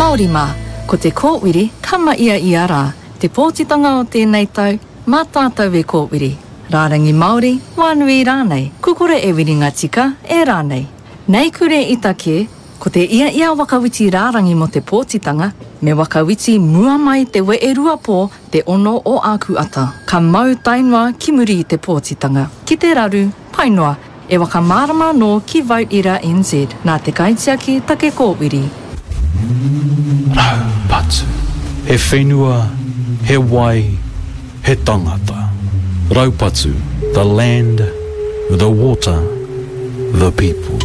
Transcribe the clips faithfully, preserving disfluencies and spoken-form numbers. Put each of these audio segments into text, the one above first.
Māori mā, ko te kōwiri ka mahia ia rā. Te pōtitanga o tēnei tau, mā tātou e kōwiri. Rārangi Māori, wānui rānei, kukore e wiringa tika, e rānei. Nei kure i take, ko te ia ia wakawiti rārangi mo te pōtitanga, me wakawiti mua mai te we e rua pō te ono o āku ata. Ka mau tainoa ki muri i te pōtitanga. Ki te raru, pai noa, e wakamārama nō ki Vote Era NZ, nā te kaitiaki take kōwiri. Raupatu. He whenua, he wai, he tangata. Raupatu, the land, the water, the people.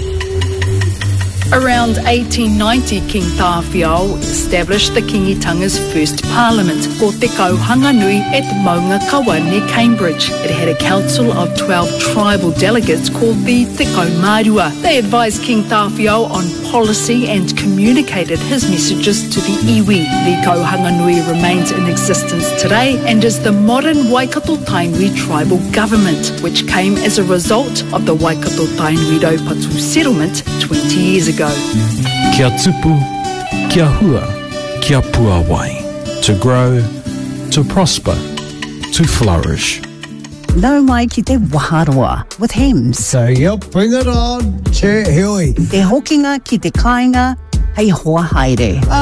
Around eighteen ninety, King Tāwhiao established the Kingitanga's first parliament, ko Te Kauhanganui at Maungakawa near Cambridge. It had a council of twelve tribal delegates called the Te Kaumārua. They advised King Tāwhiao on policy and communicated his messages to the iwi. The Kauhanganui remains in existence today and is the modern Waikato Tainui tribal government, which came as a result of the Waikato Tainui Raupatu settlement twenty years ago. Kia tupu, kia hua, kia puawai. To grow, to prosper, to flourish. Nau mai ki te waharoa with Hems. So, yep, bring it on. Che, heoi. Te hokinga ki te kāinga, hei hoa haere.